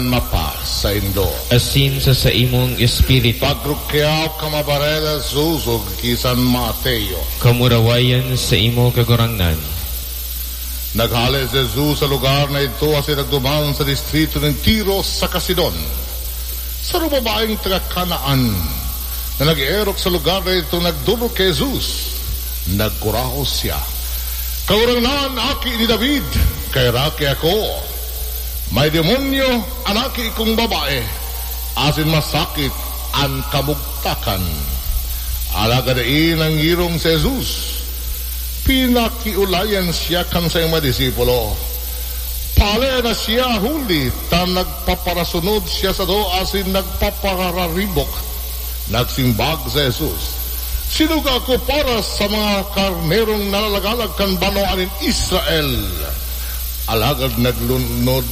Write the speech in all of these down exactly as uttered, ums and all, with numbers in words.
Mapa saindo. Asin sa saimong espiritu. Pagrukyaw ka mabarela, Susog, kisan Mateo. Kamurawayan sa imo, Kagurangnan. Naghale si Jesus sa lugar na idto asin nagduman sa distrito nin Tiro saka Sidon. Sarong babaeng taga Canaan na nag-eerok sa lugar na idto nagdolok ki Jesus. Nagkurahaw siya, "Kagurangnan, Aki ni David, kaheraki ako! May demonyo an aki kong babae, asin masakit an kamugtakan." Alagad dai nangirong si Jesus. Pinakiolayan siya kan saiyang mga disipulo. Pahalean na siya, huli ta nagpaparasunod siya sato asin nagpapararibok. Nagsimbag si Jesus, "Sinuga ako para sa mga karnerong nalagalag kan banwaan nin Israel." Alagad naglunod,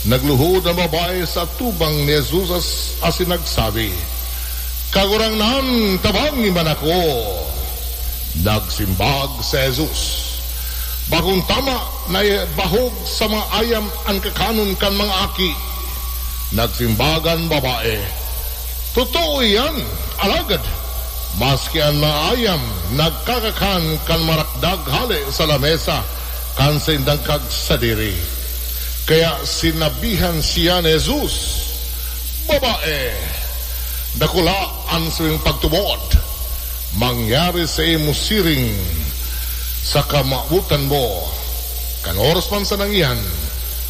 nagluhod an babae sa atubang ni Jesus as-, asin nagsabi, "Kagurangnan, tabangi man ako." Nagsimbag si Jesus, "Bakong tama na bahog sa mga ayam an kakanon kan mga aki." Nagsimbag an babae, "Totoo iyan, alagad maski an mga ayam nagkakakan kan marakdag hale sa lamesa kan saindang kagsadiri." Kaya sinabihan siya ni Jesus, "Babae, dakula an saimong pagtubod. Mangyari saimo siring sa kamawotan mo." Kan oras man sanang iyan,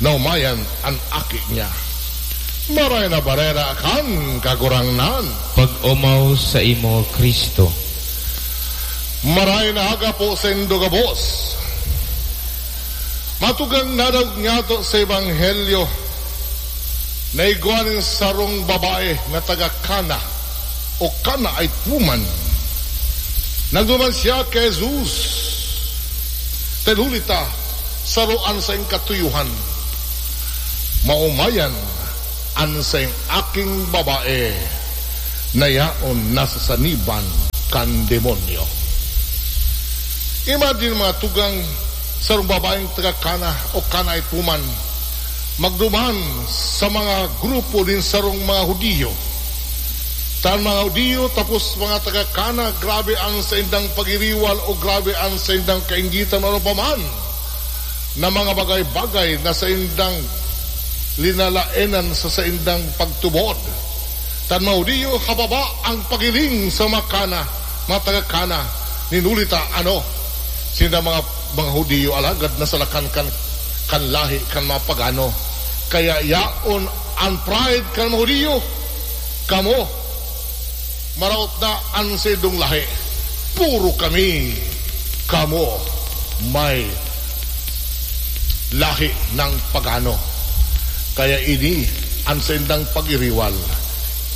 naomayan an aki niya. Marahay na Bareta kan Kagurangnan. Pag-omaw saimo, Cristo. Marahay na aga po saindo gabos. Mga tugang, nadangog niyato sa Ebanghelyo na igwa nin sarong babae na taga Cana o Canaanite woman. Nagduman siya ki Jesus. Dahil huli ta, saro an saiyang katuyohan. Maomayan an saiyang aking babae na yaon nasasaniban kan demonyo. Imagine, mga tugang, sarong babaeng taga Cana o Canaanite woman, magduman sa mga grupo nin sarong mga Judio. Ta an mga Judio, tapos mga taga Cana, grabe an saindang pagiriwal o grabe an saindang kainggitan o ano pa man na mga bagay-bagay na saindang linalaenan sa saindang pagtubod. Ta an mga Judio, hababa ang paghiling sa mga Cana, mga taga Cana, nin huli ta, ano, sinda mga, mga Judio, alagad nasalakan kan, kan lahi kan mga pagano. Kaya yaon an pride kan mga Judio, "Kamo, maraot na an saindong lahi. Puro kami, kamo, may lahi ng pagano." Kaya ini an saindang pagiriwal,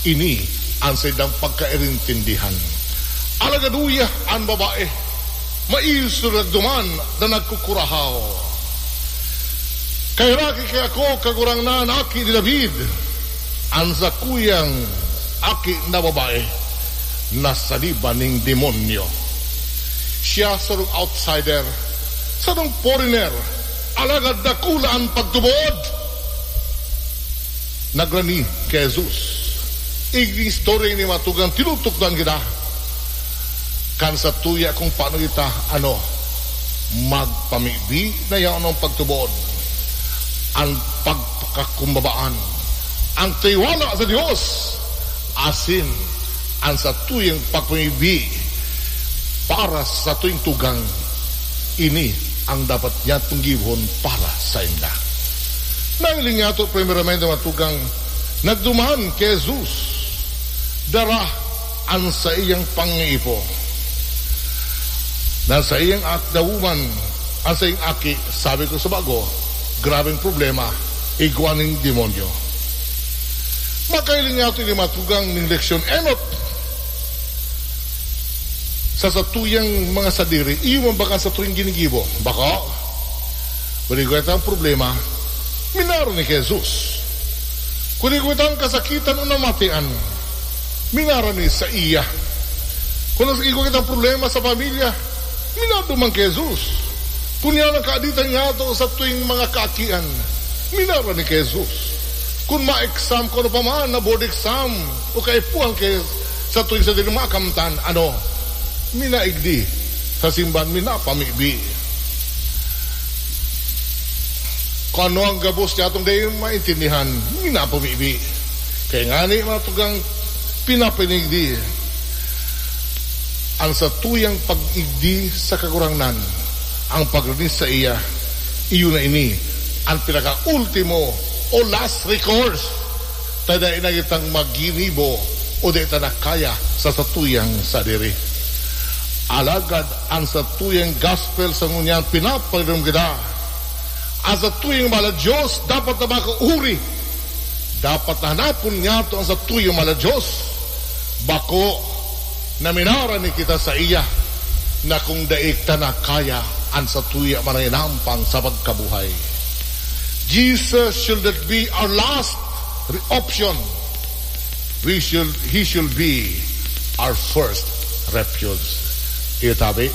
ini an saindang pagkairintindihan. Alagad uya an babae, maisog nagduman na nagkukurahaw, "Kaheraki ki ako, Kagurangnan, Aki ni David! An sakuyang aki na babae nasaniban nin demonyo. Siya sarong outsider, sarong foreigner, alagad dakula an pagtubod." Nagrani ki Jesus. Igni istorya ini, mga tugang, tinutukdoan kita kan satuya kung paano kita, ano, magpamibi na yaon ang pagtubod, ang pagpakakumbabaan, ang tiwala sa Dios, asin ang satuyang pagpamibi para sa satuyang tugang. Ini ang dapat niyatong gibohon para sainda. Nahiling niyato, primeramente, mga tugang, nagduman ki Jesus, dara an saiyang pangipo. Na saiyang ak-, the woman, an saiyang aki, sabi ko sa bago, grabeng problema, igwa nin demonyo. Makahiling niyato ini, mga tugang, nin leksyon enot sa satuyang mga sadiri, iyo man ba kan satuyang ginigibo? Bako. Kun igwa kitang problema, minarani ki Jesus. Kun igwa kitang kasakitan o namatian, minarani saiya. Kun igwa kitang problema sa pamilya, minaduman ki Jesus. Kun yan ang kaaditan niyato satuyang mga kaakian, minarani ki Jesus. Kun ma-exam, kun ano pa man na board exam, o kaipuhan ki satuyang sadiri, makamtan, ano, minaigdi sa simbahan, minapamibi. Kun ano ang gabos niya atong dai maintindihan, minapamibi. Kaya ngani, mga tugang, pinapinigdi ang satuyang pag-igdi sa Kagurangnan, ang pagrinis saiya. Iyo na ini an pinakaultimo o last recourse, ta dai na kitang maginibo o dai ta na kaya sa satuyang sadiri. Alagad an satuyang gospel sa ngunyan pinapagdom kita. An satuyang mahal na Dios dapat na makauri. Dapat na hanapon niyato an satuyang mahal na Dios. Bako na minarani kita saiya, na kung dai ta na kaya an satuya man na inampang sa pagkabuhay. Jesus should not be our last re-, option. We should, he should be our first refuge. Itabi,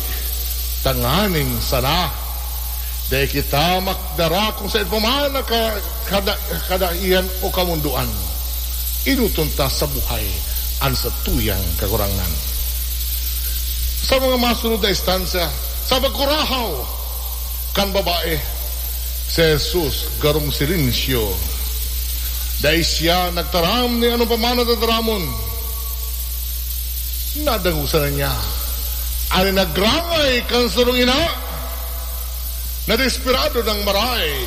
tanganing sana dai kita makdara kung saen pa man na ka-, kada-, kadaihan o kamondoan. Enoton ta sa buhay an satuyang Kagurangnan. Sa mga masunod na instansya, sa pagkurahaw kan babae, si Jesus garong silensyo. Dai siya nagtaram ni ano pa man na tataramon. Nadangog sana niya an nagrangay kan sarong ina. Nadesperado nang maray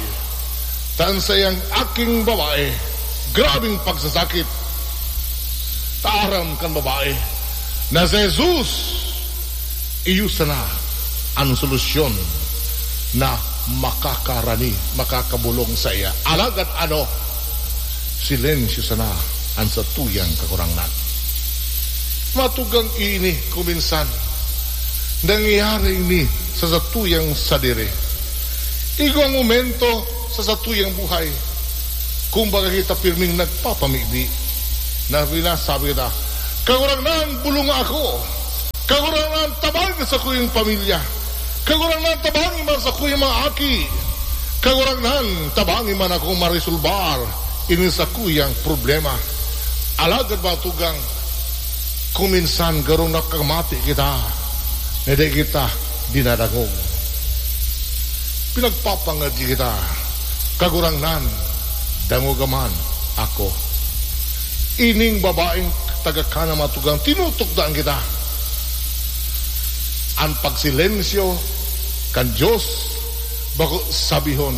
ta an saiyang aking babae, grabeng pagsasakit. Ta aram kan babae na si Jesus iyo sana an solusyon na makakarani, makakabolong saiya. Alagad ano? Silensyo sana an satuyang Kagurangnan. Matugang ini kuminsan. Nangyayari ini sa satuyang sadiri. Igwang momento sa satuyang buhay, kumbaga kita pirming nagpapamibi, na sinasabi kita, "Kagurangnan, bolonga ako. Kagurangnan, tabangi sakuyang pamilya. Kagurangnan, tabangi man sakuyang mga aki. Kagurangnan, tabangi man ako maresolbar ini sakuyang problema." Alagad, mga tugang, kuminsan garo nakamati kita na dai kita dinadangog. Pinagpapangadyi kita, "Kagurangnan, dangoga man ako." Ining babaeng taga Cana, mga tugang, tinutukdoan kita. An pagsilensyo kan Dios, bako sabihon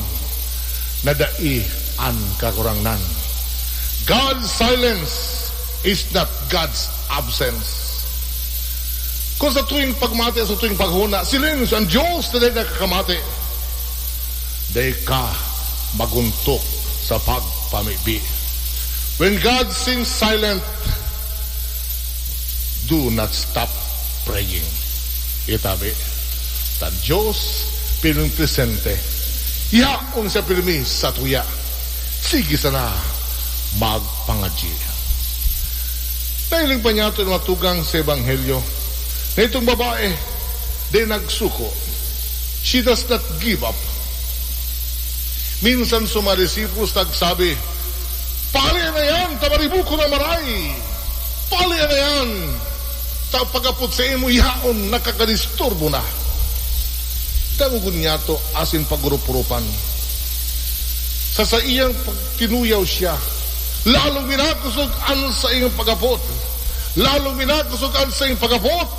na dai an Kagurangnan. God's silence is not God's absence. Kung sa tuwing pagmati, sa tuwing paghona, silensyo an Dios na dai nakakamati, dai ka maguntok sa pagpamibi. When God seems silent, do not stop praying. Itabi, ta Dios pirming presente. Yaon siya pirmi sa tuya. Sige sana magpangadyi. Nahiling pa niya ito matugang sa Ebanghelyo na itong babae, di nagsuko. She does not give up. Minsan sa mga disciples nagsabi, "Pali na yan, ta maribukon na maray. Pali na yan, ta pag-apod saimo yaon, nakakadisturbo na." Dangogon niya to asin pag-urup-urupan. Sa saiyang pagtinuyaw siya, lalong minakusog an saiyang pag-apod. Lalong minakusog an saiyang pag-apod.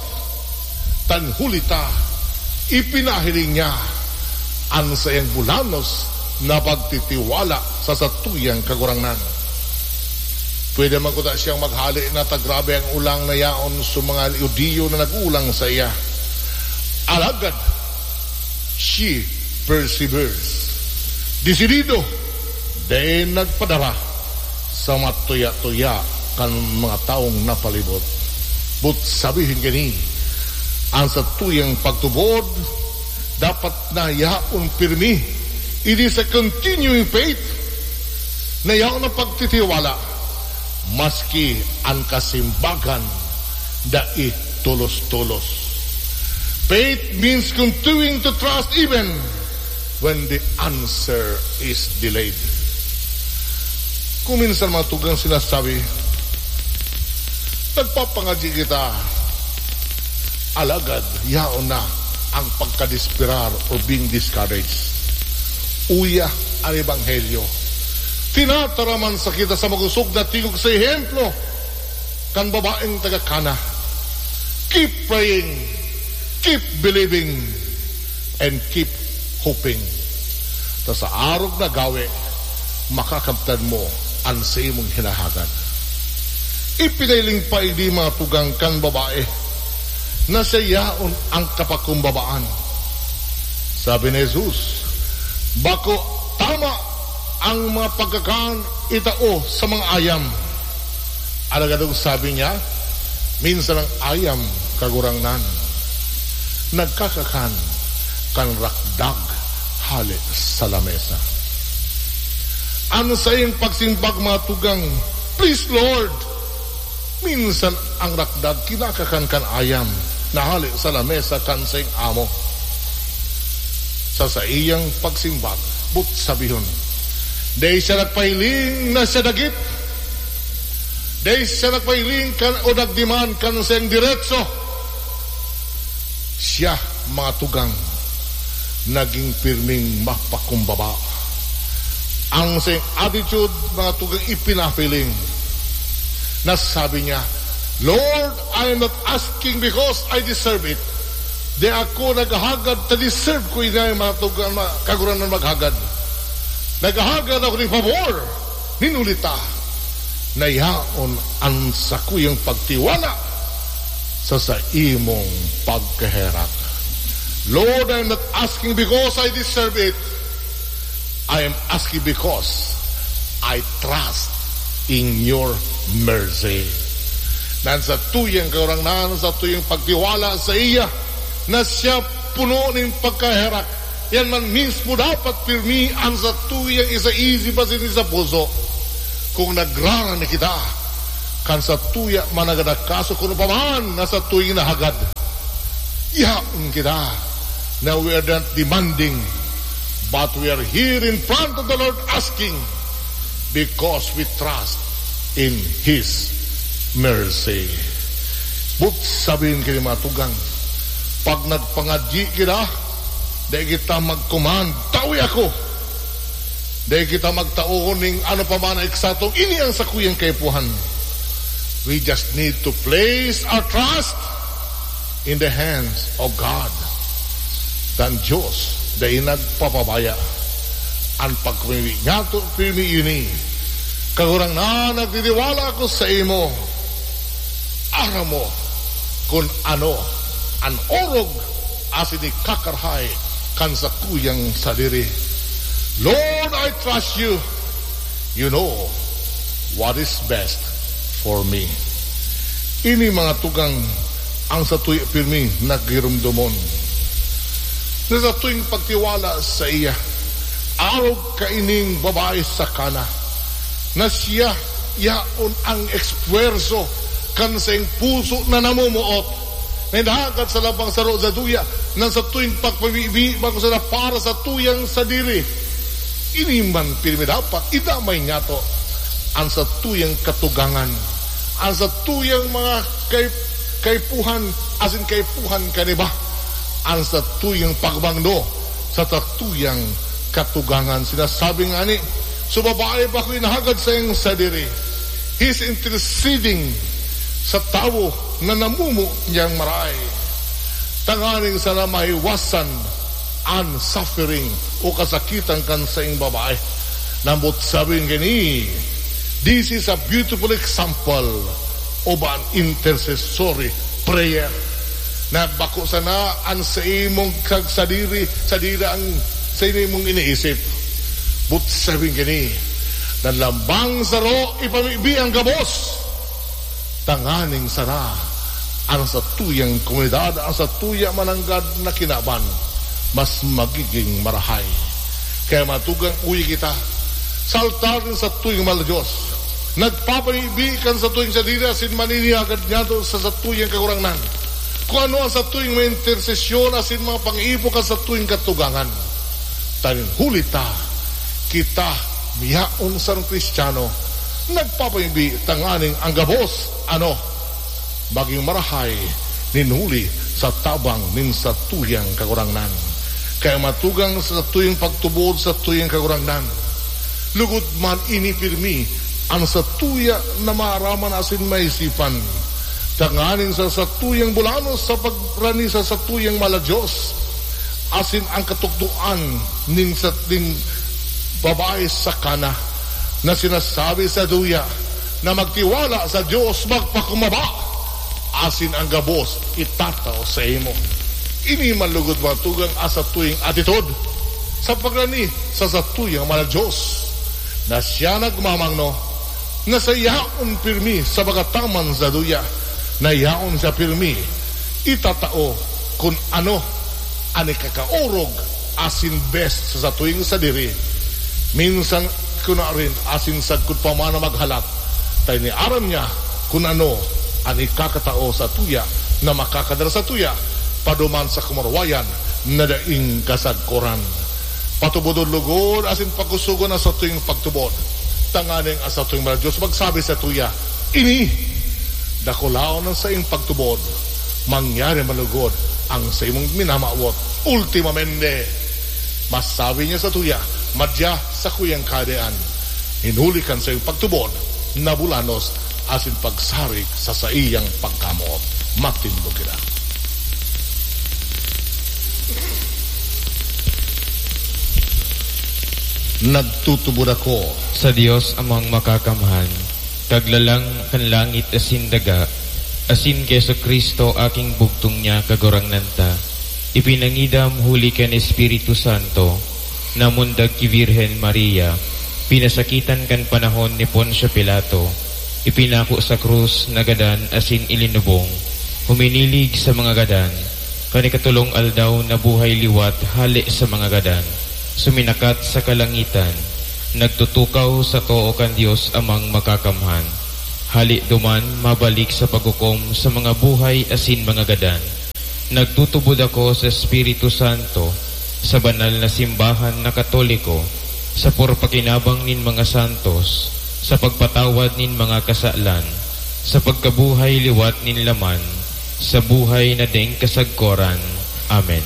Tan huli ta, ipinahiling niya an saiyang bulanos na pagtitiwala sa satuyang Kagurangnan. Pwede man kuta siyang maghale na ta grabe ang ulang na yaon sa mga Judio na nag-ulang saiya. Alagad, she perseveres. Desidido, dai nagpadara sa matuya-tuya kan mga tawong napalibot. But sabihin kini, an satuyang pagtubod dapat na yaon pirmi. It is a continuing faith na yaon na pagtitiwala, maski an kasimbagan dai tolos-tolos. Faith means continuing to trust even when the answer is delayed. Kung minsan mga tugang sinasabi, "Nagpapangadyi kita, alagad yaon na ang pagkadesperar or being discouraged." Uya an Ebanghelyo. Tinataraman sa kita sa makosog na tingog sa ehemplo kan babaeng taga Cana. Keep praying, keep believing, and keep hoping. Ta sa arog na gawe, makakamtan mo an saimong hinahagad. Ipinahiling pa ini mga tugang kan babae na siya yaon ang kapakumbabaan. Sabi ni Jesus, "Bako tama ang mga pagkakan itao sa mga ayam." Alagad ang sabi niya, minsan ang ayam, Kagurangnan, nagkakakan kan rakdag hale sa lamesa. An saiyang pagsimbag, mga tugang, "Please, Lord." Minsan ang rakdag kinakakan kan ayam na hale sa lamesa kan saiyang amo. Sa saiyang pagsimbag, but sabihon, dai siya nagpahiling na siya dagit. Dai siya nagpahiling kan o nagdemand kan saiyang diretso. Siya, mga tugang, naging pirming mapakumbaba. Ang saiyang attitude, mga tugang, ipinahiling. Na sabi niya, "Lord, I am not asking because I deserve it." Di ako naghahagad ta deserve ko ini, mga tugang, mga kagurangnan, maghagad. Naghahagad ako nin pabor, nin huli ta na yaon an sakuyang pagtiwala sa saimong pagkaherak. Lord, I am not asking because I deserve it. I am asking because I trust in your mercy. Nan sa tuyang Kagurangnan, sa tuyang pagtiwala sa iya, na siya puno nin pagkaherak. Yan man mismo dapat pirmi an satuyang isa isip asin isa puso. Kung nagrarani kita kan satuya man na kaso, kun ano pa man na satuyang nahagad, yaon kita na we are not demanding, but we are here in front of the Lord asking, because we trust in His mercy. But sabihin kini, mga tugang, pag nagpangadyi kita, dai kita mag-command, "Tawi ako." Dai kita magtao ning ano pa man na eksakto, "Ini ang sakuyang kaipuhan." We just need to place our trust in the hands of God. Kan Dios dai nagpapabaya. An pagpamibi niyato, pirmi ini. Kagurangnan, nagtitiwala ako sa imo. Aram mo kun ano an orog asin ikakarahay kan sakuyang sadiri. Lord, I trust you. You know what is best for me. Ini, mga tugang, ang satuya pirmi na giromdomon na satuyang pagtiwala sa iya. Arog kaining babae sa Cana, na siya yaon ang espuwerso kan saiyang puso na namumuot, na hinahagad sa labang saro sa duya, nang satuyang pagpamibi, bako sana para sa tuyang sadiri. Ini man pirmi dapat idamay niyato an satuyang katugangan, an satuyang mga kay-, kaipuhan asin kaipuhan kan iba, an satuyang pagbangdo sa satuyang katugangan. Sinasabi ngani, so babae bako hinahagad saiyang sadiri. He's interceding sa tawo na namumuot niyang marahay, tanganing sana maiwasan an suffering o kasakitan kan saiyang babae. Nambot sabi ngani, this is a beautiful example of an intercessory prayer. Na bako sana an sa imong kag sadiri, sadiri ang sa imong iniisip. But sabi ngani, na lambang saro ipamibi ang gabos, tanganing sana ang satuyang komunidad, ang satuya mananggad na kinaban, mas magiging marahay. Kaya matugang uwi kita sa altar nin satuyang mahal na Dios, nagpapaibi kan satuyang sadiri asin maninihagad niyato sa satuyang Kagurangnan. Kung ano ang satuyang mga intersesyon asin mga pang-ipo kan satuyang katugangan. Tanganing huli ta, kita miyaon sarong Kristiyano Nagpapamibi tanganing ang gabos, ano, magin marahay nin huli sa tabang nin satuyang Kagurangnan. Kaya matugang sa satuyang pagtubod satuyang Kagurangnan. Lugod man ini pirmi an satuya na maaraman asin maisipan, tanganing sa satuyang bulanos sa pagrani sa satuyang mahal na Dios, asin ang katukdoan nin sa, nin babae sa Cana na sinasabi sa duya na magtiwala sa Dios, magpakumbaba, asin ang gabos itatao saimo. Ini man lugod matugang an satuyang atitod sa pagrani sa satuyang mahal na Dios, na siya nagmamangno na sa yaon pirmi sa pagkataman sa duya, na yaon siya pirmi itatao kun ano an ikakaorog asin best sa satuyang sadiri. Minsan kunarin asin sagkod pa man na maghalat, ta ini aram niya kun ano an ikakatao satuya na makakadara satuya paduman sa kamarwayan na daing kasagkoran. Patubodon lugod asin pakusogon an satuyang pagtubod, tanganing an satuyang mahal na Dios magsabi satuya, "Ini, dakulaon an saiyang pagtubod. Mangyari man lugod an saimong minamawot." Ultimamente, masabi niya satuya, "Madya sakuyang Kagurangnan, hinuli kan saiyang pagtubod na bulanos asin pagsarig sa saiyang pagkamoot." Matindog kita. Nagtutubod ako sa Dios Amang Makakamhan, Kaglalang kan langit asin daga, asin ki Jesu-Cristo, aking bugtong niya, Kagurangnan ta, ipinangidam huli kan Espiritu Santo, namundag ki Birhen Maria, pinasakitan kan panahon ni Poncio Pilato, ipinako sa krus, nagadan asin ilinubong, huminilig sa mga gadan, kan ikatolong aldaw nabuhay liwat hale sa mga gadan, suminakat sa kalangitan, nagtutukaw sa too kan Dios Amang Makakamhan. Hale duman, mabalik sa paghukom sa mga buhay asin mga gadan. Nagtutubod ako sa Espiritu Santo, sa banal na simbahan na Katoliko, sa purpakinabang nin mga santos, sa pagpatawad nin mga kasalan, sa pagkabuhay liwat nin laman, sa buhay na daing kasagkoran. Amen.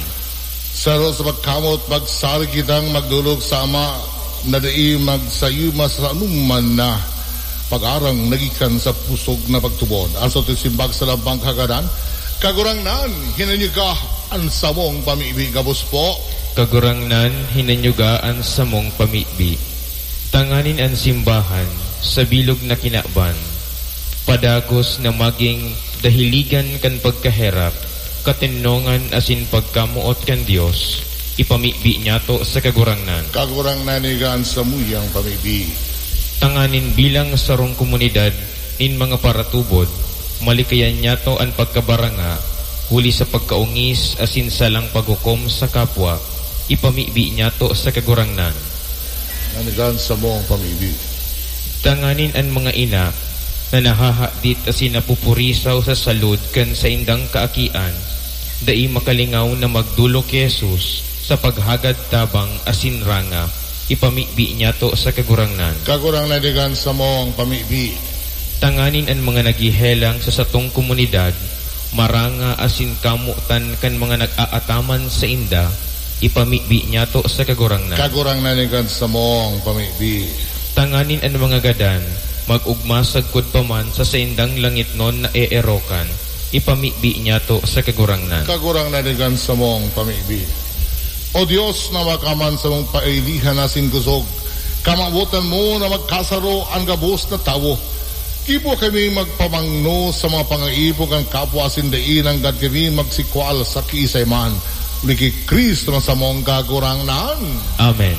Sa haraw sa pagkamoot, magsarig kitang magdolok sa Ama na dai magsayuma sa anoman na pag-arang na gikan sa pusog na pagtubod. An satuyang simbag sa lambang kagadan, Kagurangnan, hinanyuga an samong pamibi, gabos po. Kagurangnan, hinanyuga an samong pamibi. Tanganing an simbahan, sa bilog na kinaban, padagos na magin dahiligan kan pagkaherak, katenongan asin pagkamoot kan Dios, ipamibi niyato sa Kagurangnan. Kagurangnan, hinanyuga an samuyang pamibi. Tanganing bilang sarong komunidad nin mga paratubod, malikayan niyato an pagkabaranga, huli sa pagkaongis asin salang paghukom sa kapwa, ipamibi niyato sa Kagurangnan. Hinanyuga an samong pamibi. Tanganing an mga ina na nahahadit asin napupurisaw sa salud kan saindang kaakian, dai makalingaw na magdolok ki Jesus sa paghagad tabang asin ranga, ipamibi niyato sa Kagurangnan. Kagurangnan, hinanyuga an samong pamibi. Tanganing an mga naghehelang sa satong komunidad, maranga asin kamotan kan mga nag-aataman sainda, ipamibi niyato sa Kagurangnan. Kagurangnan, hinanyuga an samong pamibi. Tanganing an mga gadan, mag-ogma sagkod pa man sa saindang langitnon na eerokan, ipamibi niyato sa Kagurangnan. Kagurangnan, hinanyuga an samong pamibi. O Dios na makakamhan samong pailihan asin kusog, kamawotan mo na magkasaro an gabos na tawo. Gibo kami magpamangno sa mga pangaipon kan kapwa asin dai nanggad kami magsikwal sa kiisay man. Huli ki Cristo na samong Kagurangnan. Amen.